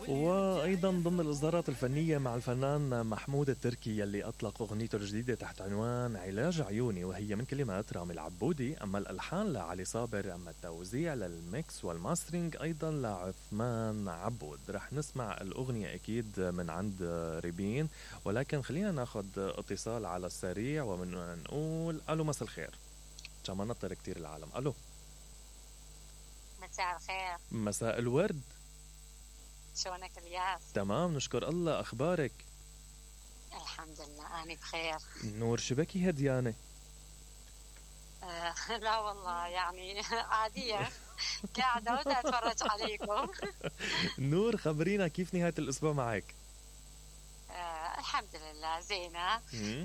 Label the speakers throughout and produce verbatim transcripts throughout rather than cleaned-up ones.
Speaker 1: وأيضا ضمن الإصدارات الفنية مع الفنان محمود التركي يلي أطلق أغنيته الجديدة تحت عنوان علاج عيوني، وهي من كلمات رامي العبودي، أما الألحان لعلي صابر، أما التوزيع للميكس والماسترينج أيضا لعثمان عبود. رح نسمع الأغنية أكيد من عند ريبين، ولكن خلينا ناخد اتصال على السريع ومن نقول ألو مساء الخير. كما نطر كتير العالم. ألو
Speaker 2: مساء الخير.
Speaker 1: مساء الورد.
Speaker 2: شلونك الياس؟
Speaker 1: تمام نشكر الله. أخبارك؟
Speaker 2: الحمد لله أنا بخير.
Speaker 1: نور شبكي هديانة؟
Speaker 2: آه لا والله يعني عادية قاعدة ودا أتفرج عليكم.
Speaker 1: نور خبرينا كيف نهاية الأسبوع معك؟
Speaker 2: آه الحمد لله زينة.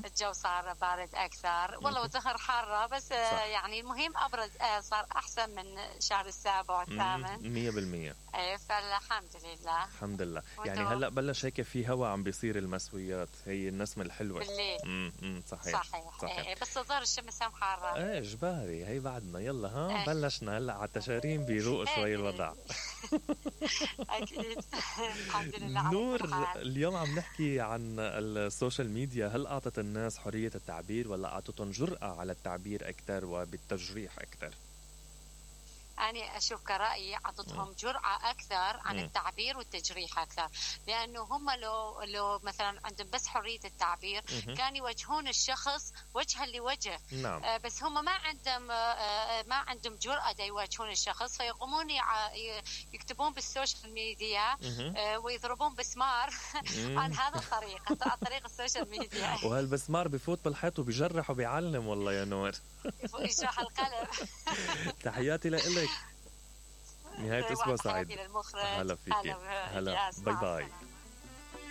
Speaker 2: الجو صار بارد أكثر والله، والظهر حارة بس آه يعني المهم أبرد آه صار أحسن من شهر السابع والثامن.
Speaker 1: مية بالمية.
Speaker 2: إيه فالحمد لله.
Speaker 1: الحمد لله. يعني هلأ بلش هيك في هوا عم بيصير المسويات، هي النسمة الحلوة
Speaker 2: بالليل.
Speaker 1: امم صحيح
Speaker 2: صحيح, صحيح. إيه بس الظهر الشمس هم حارة.
Speaker 1: ايه جباري هي بعدنا يلا ها. إيه. بلشنا هلأ على التشارين بيروق شوي الوضع.
Speaker 2: أكيد. الحمد لله.
Speaker 1: نور اليوم عم نحكي عن السوشيال ميديا، هل أعطت الناس حرية التعبير ولا أعطتهم جرأة على التعبير أكثر وبالتجريح أكثر؟
Speaker 2: أنا أشوف كرأيي أعطتهم جرأة أكثر عن م. التعبير والتجريح أكثر، لأنه هم لو لو مثلا عندهم بس حرية التعبير م. كان يوجهون الشخص وجها لوجه.
Speaker 1: نعم.
Speaker 2: آه بس هم ما عندهم آه ما عندهم جرأة دا يواجهون الشخص، فيقومون يكتبون بالسوشيال ميديا آه ويضربون بسمار عن هذا الطريق، عن طريق السوشيال ميديا.
Speaker 1: وهالبسمار بفوت بالحيط وبيجرح وبيعلم والله يا نور.
Speaker 2: يشرح القلم.
Speaker 1: تحياتي لك. نهاية أسبوع سعيد.
Speaker 2: هلا
Speaker 1: فيك. هلا باي باي.